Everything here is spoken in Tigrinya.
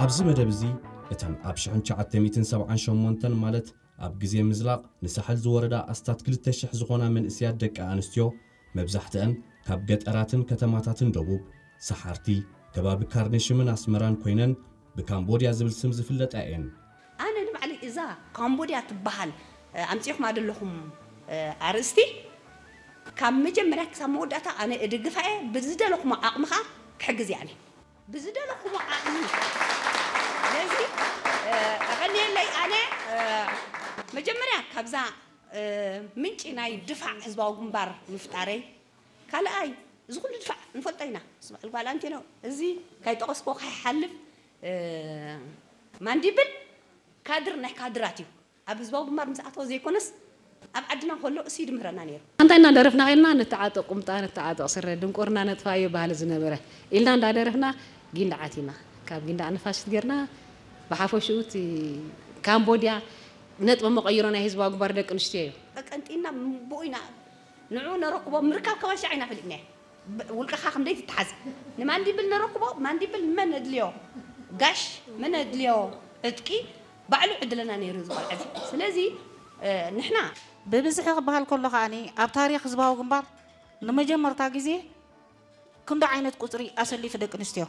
ኣብዚ መደብ እዚ እተን ኣብ ሽሕን ትሽዓተ ሚእትን ሰብዓን ሸሞንተን ማለት ኣብ ግዜ ምዝላቕ ንሳሕል ዝወረዳ ኣስታት ክልተ ሽሕ ዝኾና መንእሰያት ደቂ ኣንስትዮ መብዛሕትአን ካብ ገጠራትን ከተማታትን ደቡብ ሰሓርቲ ከባቢ ካርነሽምን ኣስመራን ኮይነን ብካምቦድያ ዝብል ስም ዝፍለጣ እየን። ኣነ ንባዕለይ እዛ ካምቦድያ ትበሃል ኣምፂኹማ ዘለኹም ኣርእስቲ ካብ መጀመርያ ክሳብ መወዳእታ ኣነ እድግፋ እየ። ብዝደለኹሞ ዓቕሚ ከዓ ክሕግዝ እየ ኣነ። ብዝደለኹሞ ዓቕሚ። ስለዚ ኣቐንየለይ። ኣነ መጀመርያ ካብዛ ምንጪ ናይ ድፋዕ ህዝባዊ ግንባር ምፍጣረይ፣ ካልኣይ እዚ ኩሉ ድፋዕ ንፈልጦ ኢና። ስምዕል ጓል ኣንቴኖ፣ እዚ ካይጠቐስኮ ካይሓልፍ ማንዲብል ካድር ናይ ካድራት እዩ። ኣብ ህዝባዊ ግንባር ምስ ኣተወ ዘይኮነስ ኣብ ዓድና ከሎ እሱ ይድምህረና ነይሩ። ኣንታ ኢና ደረፍና ከይድና ንተዓጠቕ ቁምጣ ንተዓጠቕ ስረ ድንቁርና ነጥፋዮ ባህሊ ዝነበረ ኢልና እንዳደረፍና ጊንዳዕ ኣቲና። ካብ ጊንዳዕ ንፋሽት ጌርና ብሓፈሽኡ እቲ ካምቦድያ ነጥቢ መቐይሮ ናይ ህዝባዊ ግንባር ደቂ ኣንስትዮ እዩ። ቀንጢና ብኡ ኢና ንዑ ነረክቦ ምርካብ ከማን ሻዕ ኢና ፈሊጥናዮ። ውልቅኻ ክንደይ ትተሓዝ ንማንዲብል ነረክቦ ማንዲብል መን እድልዮ ጋሽ መን እድልዮ ዕጥቂ ባዕሉ ዕድለና ነይሩ እዚ ቆልዓ እዚ። ስለዚ ንሕና ብብዝሒ ክበሃል ከሎ ከዓኒ ኣብ ታሪክ ህዝባዊ ግንባር ንመጀመርታ ግዜ ክንዶ ዓይነት ቁፅሪ ኣሰሊፉ ደቂ ኣንስትዮ